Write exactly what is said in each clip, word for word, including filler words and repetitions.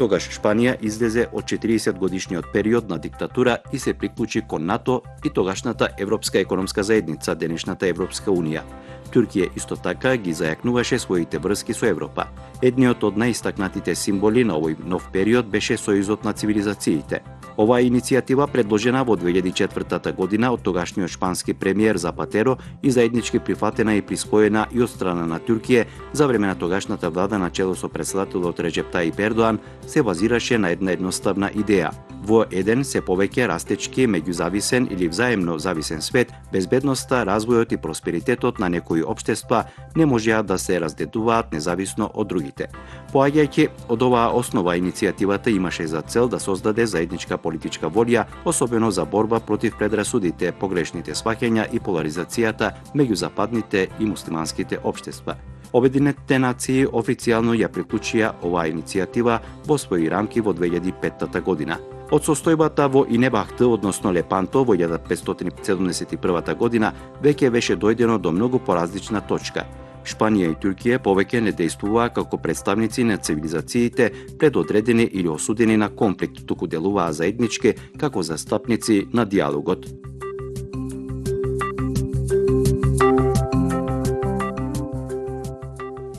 Тогаш Шпанија излезе од четириесет годишниот период на диктатура и се приклучи кон НАТО и тогашната Европска економска заедница, денешната Европска унија. Туркија исто така ги зајакнуваше своите врски со Европа. Едниот од најистакнатите символи на овој нов период беше Сојузот на цивилизациите. Оваа иницијатива предложена во две илјади и четвртата година од тогашниот шпански премиер Запатеро и заеднички прифатена и приспоена и од страна на Туркија за време на тогашната влада на чело со претседателот Реджеп Тајип Ердоан се базираше на една едноставна идеја. Во еден се повеќе растечки, меѓузависен или взаемно зависен свет, безбедноста, развојот и просперитетот на некои општества не можеа да се раздедуваат независно од другите. Поаѓајќи од оваа основа, иницијативата имаше за цел да создаде заедничка политичка волја, особено за борба против предрасудите, погрешните сваќања и поларизацијата меѓу западните и муслиманските општества. Обединетите нации официјално ја приклучија оваа иницијатива во своји рамки во две илјади и петта година. Од состојбата во Инебахты, односно Лепанто, во илјада петстотини седумдесет и првата година, веќе беше дојдено до многу поразлична точка. Шпанија и Туркија повеќе не дејствуваа како представници на цивилизациите предодредени или осудени на конфликт, туку делуваа заеднички како застапници на диалогот.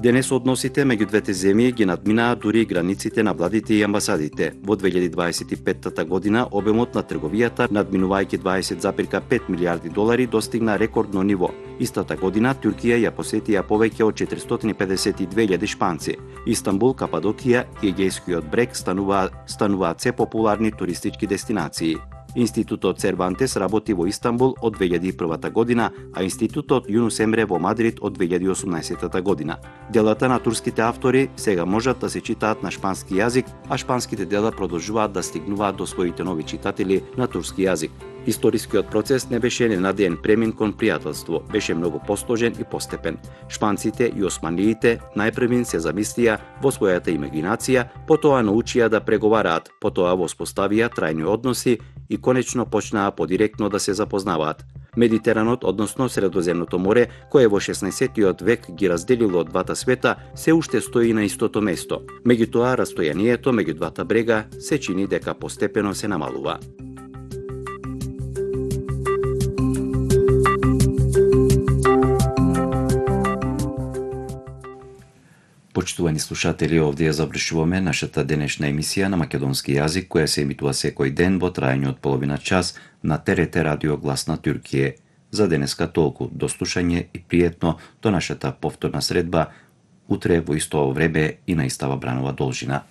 Денес односите меѓу двете земји ги надминаа дури границите на владите и амбасадите. Во две илјади дваесет и петта година обемот на трговијата, надминувајќи дваесет запирка пет милијарди долари, достигна рекордно ниво. Истата година Туркија ја посетија повеќе од четиристотини и педесет и две илјади шпанци. Истанбул, Кападокија и Егејскиот брег стануваат стануваат се популарни туристички дестинации. Институтот Сервантес работи во Истанбул од две илјади и првата година, а Институтот Јунус Емре во Мадрид од две илјади и осумнаесетта година. Делата на турските автори сега можат да се читаат на шпански јазик, а шпанските дела продолжуваат да стигнуваат до своите нови читатели на турски јазик. Историскиот процес не беше ненадеен премин кон пријателство, беше многу посложен и постепен. Шпанците и османиите најпрвин се замислија во својата имагинација, потоа научија да преговараат, потоа воспоставија трајни односи и конечно почнаа подиректно да се запознаваат. Медитеранот, односно Средоземното море, кое во шеснаесеттиот век ги разделило двата света, се уште стои на истото место. Меѓутоа, растојанието меѓу двата брега се чини дека постепено се намалува. Почитувани слушатели, овде ја завршуваме нашата денешна емисија на македонски јазик, која се емитува секој ден во трајање од половина час на Т Р Т Радио Глас на Туркија. За денеска толку, до слушање и пријетно до нашата повторна средба утре во исто време и на истава бранова должина.